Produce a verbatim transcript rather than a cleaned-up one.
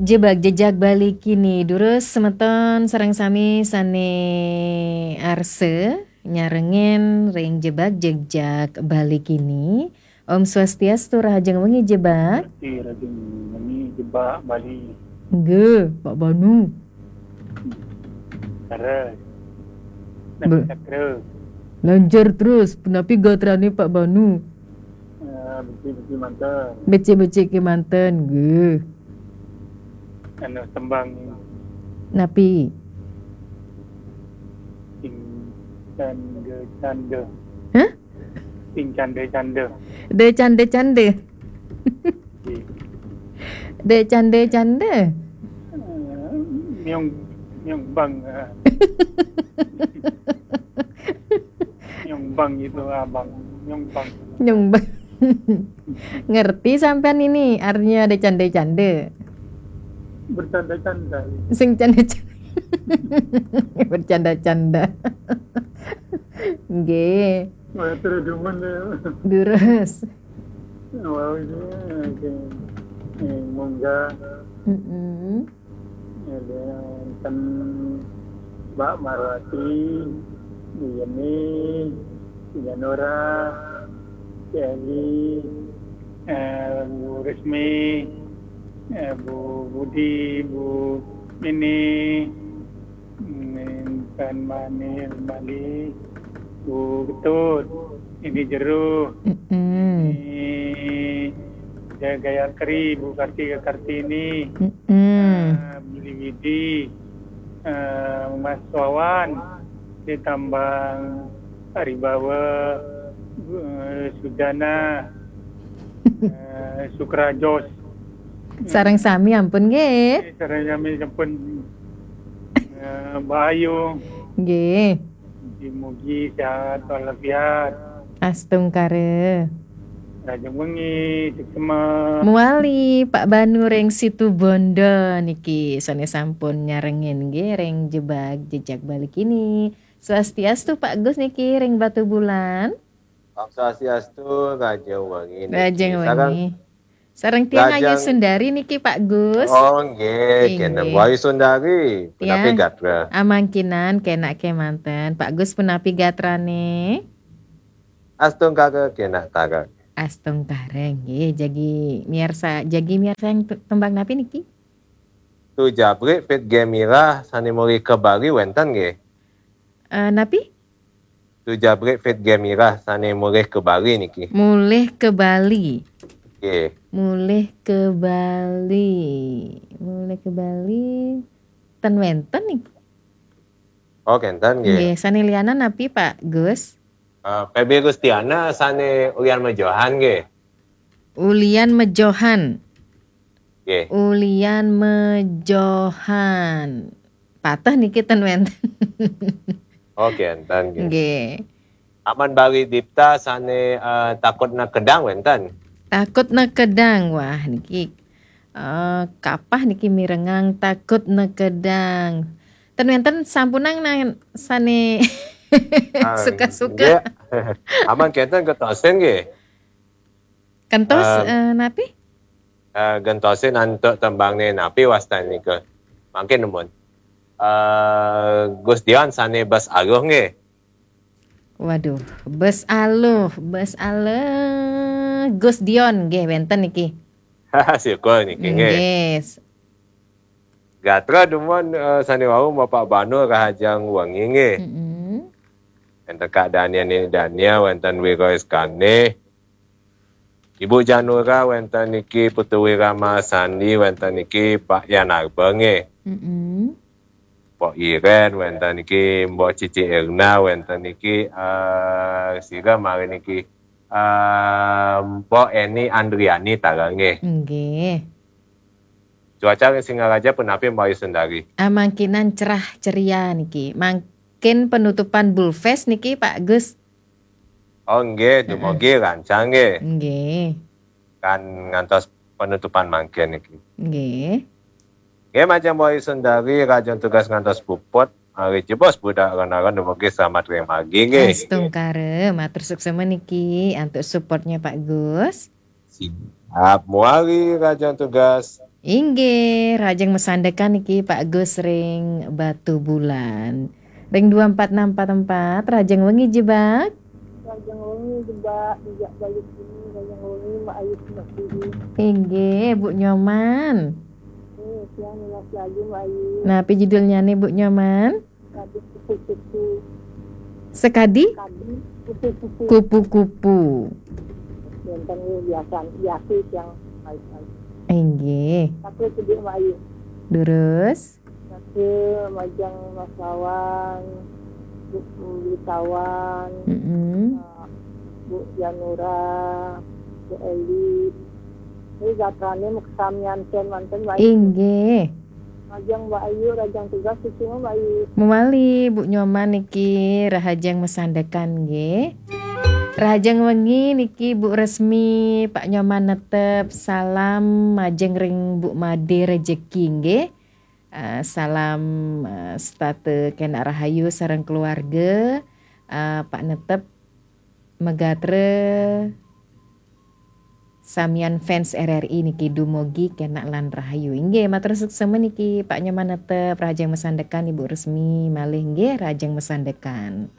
Jebak jejak Bali kini, durus semeton sareng sami sane arsa nyarengin ring jebak jejak Bali kini. Om Swastiastu, rahajeng wengi jebak. Swastiastu, rahajeng wengi jebak Bali. Nggih, Pak Banu. Terus. Be- Sakra. Lancar terus, punapi gatrane Pak Banu? Eh, becik-becik manten. Becik-becik kemanten, nggih. Anu tembang. Napi? Sing canda-canda. Hah? Sing canda-canda. De canda-canda. Nggih. De canda-canda. Eh, miung, miung bang, eh. Miung bang itu, abang. Miung bang. Nyumbang. Ngerti sampean ini artinya de canda-canda? Bercanda-canda. Sing canda-canda. Bercanda-canda. Nggih. Wah, terus demen ya. Durus. Wah, ini, oke. Eh, munggah. Mm-mm. Ada wonten Mbak Marwati, Bu Yeni, Bu Yanora, Bu Eli, eh, Bu Rismi, eh, Bu Budi, Bu Mini, Intan Manil Mali, Bu Ketut, ini Jero, Mm-mm. Ini Jaya Gayatri, Bu Kartika Kartini, Mm-mm. eh, Beli Widi, eh, Mas Wawan, ditambang Aribawa, eh, Sudana, eh, Sukrajos. Sareng sami ampun nggih. Eh, sareng sami sampun, eh, Mbak Ayu. Nggih. Mugi-mugi sehat walafiat. Astungkara. Rahajeng wengi, suksma. Muali Pak Banu ring Situbondo niki sane sampun nyarengin nggih ring jebak jejak Bali kini. Swastiastu Pak Gus niki ring Batubulan. Om Swastiastu, rahajeng wengi niki. Rahajeng wengi. Sareng tiang Ayu Sundari niki, Pak Gus. Oh, nggih, kena Bu Ayu Sundari. Punapi gatra? Amangkinan kenak kemanten. Pak Gus punapi gatrane? Astungkara kenak tara. Astungkara nggih, jagi miarsa, jagi miarsa yang t-, tembang napi niki? Tu jabrik Fit Gemira sane mulih ke Bali wenten nggih. Eh, napi? Tu jabrik Fit Gemira sane mulih ke Bali niki. Mulih ke Bali. Nggih. Mulih ke Bali. Mulih ke Bali. Ten wenten niki. Oh, kenten nggih. Nggih, sane lianan napi, Pak Gus? Eh, P B Gustiana sane ulian mejohan nggih. Ulian mejohan. Nggih. Ulian mejohan. Pateh niki ten wenten. Oh, kenten nggih. Nggih. Aman Bali Dipta sane, eh, takut nekedang wenten. Takut nekedang, wah niki, eh, kapah niki mirengang takut nekedang. Ten wenten sampunang nang sane suka-suka. Ah, nggih. Aman kenten gentosin nggih. Gentos, eh, eh, napi? Eh, gentosin antuk tembangne napi wastan nika. Mangkin nemun. Eh, Gus Dion sane Bes Aluh nggih. Waduh, Bes Aluh, Bes Aluh, Gus Dion nggih wenten niki. Syukur niki nggih. Nggih. Gatra dumun, eh, sane wau Bapak Banu rahajeng wengi nggih. Mm-mm. Wenten Kak Dania, Ni Dania, wenten Wiro Iskandar. Ibu Janura, wenten niki Putu Wirama Sandi, wenten niki Pak Yan Arba nggih. Mm-mm. Mbok Iren, wenten niki Mbok Cici Erna, wenten niki, eh, sira mari niki, eh, Mbok Eni Andriani tara nggih. Nggih. Cuaca ring Singaraja punapi, Mbok Ayu Sundari? Ah, mangkinan cerah ceria niki. Mangkin penutupan Bulfest niki, Pak Gus. Oh, nggih, heeh, dumugi rancang nggih. Nggih. Kan ngantos penutupan mangkin niki. Nggih. Nggih, majeng Mbok Ayu Sundari, rahajeng tugas ngantos puput. Mari jebos budak ron-ron dumugi selamat ring margi nggih. Astungkara, matur suksma niki antuk supportnya Pak Gus. Siap, mari rahajeng tugas. Inggih, rahajeng masandekan niki Pak Gus ring Batubulan. Ring dua empat enam empat empat, rahajeng wengi jebak. Rahajeng wengi jebak, jejak Bayu sini, rahajeng wengi Mak Ayu Semak Sidi. Inggih, Bu Nyoman. Eh, tiang nunas lagu Mak Ayu. Napi judulnyane, Bu Nyoman? Kadi kupu-kupu. Sekadi Kadi kupu-kupu. Kupu-kupu. Wonten nggih biasa, biasa tiang ayu-ayu. Inggih. Tapi sedih Mak Ayu. Durus. Tapi majeng Mas Wawan, Bu, Bu Tawan, Mm-mm. eh, Bu Janura, Bu Eli. Ini gatrane maksamian ten manten Mak Ayu. Inggih. Majeng Mak Ayu, rahajeng tugas cucu Mak Ayu. Mawali Bu Nyoman niki rahajeng masandekan nggih. Rahajeng wengi niki Bu Resmi, Pak Nyoman netep salam majeng ring Bu Made Rejeki nggih. Eh, salam eh, setata kenak rahayu sareng keluarga. Eh, Pak netep magatra samian fans R R I niki dumugi kenak lan rahayu. Inggih, matur suksma niki Pak Nyoman netep rahajeng masandekan Ibu Resmi malih nggih rahajeng masandekan.